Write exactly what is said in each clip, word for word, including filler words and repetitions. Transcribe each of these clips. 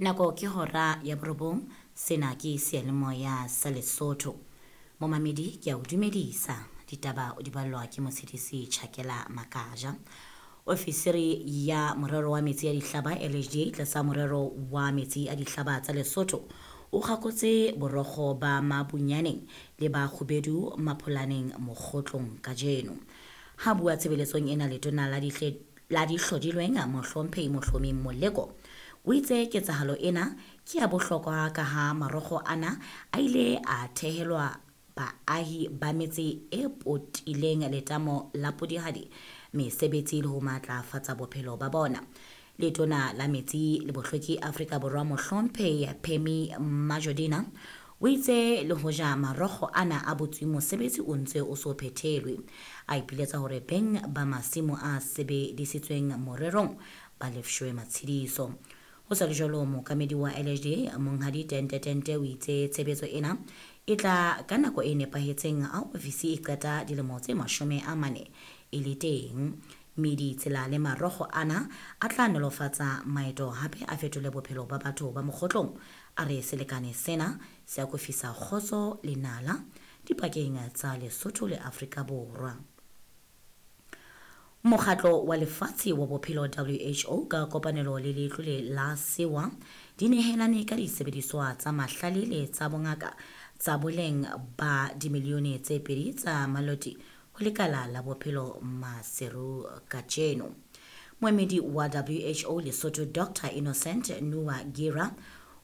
Nako ke hora ya borobong, sena ke seyalemoya sa Lesotho. Momamedi, ke a o dumedisa. Ditaba o di ballwa ke Motshedisi Chakela Makaja. Ofisiri ya morero wa metsi a dihlaba L H D A tlasa morero wa metsi a dihlaba tsa Lesotho o kgakotse borokgo ba Mabunyaneng le ba Kgubedu Mapholaneng Mokgotlong kajeno. Ha bua tshebeletsong ena, letona la dihle la dihlodilweng, Mohlomphehi Mohlomi Moleko, o itse ketsahalo ena ke ya bohlokwa ka ha marokgo ana a ile a thehelwa baahi ba metse e potileng letamo la Polihali mesebetsi le ho matlafatsa bophelo ba bona. Letona la metsi le bohlweki Afrika Borwa, Mohlomphehi Pemmy Majodina, o itse le hoja marokgo ana a butswe, mosebetsi o ntse o so phethelwe. A ipiletsa hore beng ba masimo a sebedisitsweng morerong ba lefshwe matshediso. Ho sa le jwalo, mookamedi wa L H D A, Monghadi Tente Tente, o itse tshebetso ena e tla ka nako e nepahetseng ha ofisi e qeta dilemo tse mashome a mane e le teng, mme ditsela le marokgo ana a tla nolofatsa maeto, hape a fetole bophelo ba batho ba Mokgotlong. A re selekane sena se akofisa kgotso le nala dipakeng tsa Lesotho le Afrika Borwa. Mokgatlo wa Lefatshe wa Bophelo, W H O, ka kopanelo le letlole la Sewa di nehelane ka disebediswa tsa mahlale le tsa bongaka tsa boleng ba dimilione tse pedi tsa maloti ho lekala la bophelo Maseru kajeno. Moemedi wa W H O Lesotho, Doctor Innocent Nuwagira,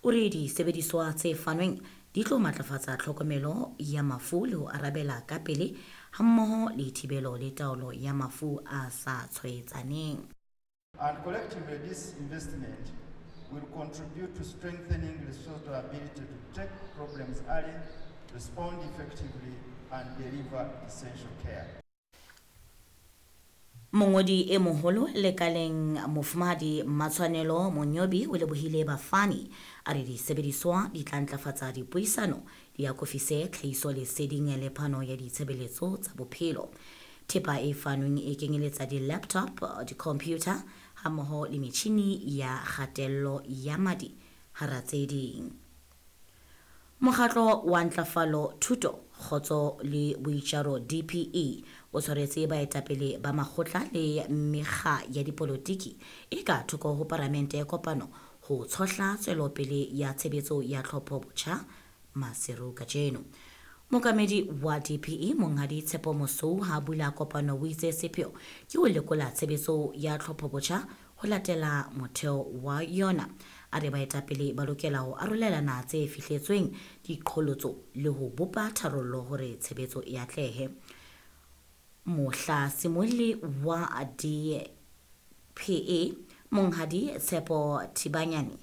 o re disebediswa tse fanweng di tlo matlafatsa tlhokomelo ya mafu le ho arabela ka pele, hammoho le thibelo le taolo ya mafu a sa tshwaetsaneng. And collectively, this investment will contribute to strengthening Lesotho's ability to detect problems early, respond effectively, and deliver essential care. Mongodi e moholo lekaleng, Mofumahadi Matshwanelo Monyobi, o lebohile bafani. A re disebediswa di tla ntlafatsa dipuisano, di akofise tlhahiso leseding le phano ya ditshebeletso tsa bophelo. Thepa e fanweng e kenyeletsa di-laptop, di-computer hammoho le metjhini ya kgatello ya madi, hara tse ding. Mokgatlo wa Ntlafalo Thuto, Kgotso le Boitjaro, D P E, o tshwaretse baetapele ba makgotla le mekga ya dipolotiki e ka thoko ho paramente kopano ho tshohla tswelopele ya tshebetso ya tlhopho botjha Maseru kajeno. Mookamedi wa D P E, Monghadi Tshepo Mosou, ha bula kopano o itse sepheo ke ho lekola tshebetso ya tlhopho botjha ho latela motheo wa yona. A re baetapele ba lokela ho arolelana tse fihletsweng, diqholotso le ho bopa tharollo hore tshebetso e atlehe. Mohlasimolli wa D P E, Monghadi Tshepo Thibanyane.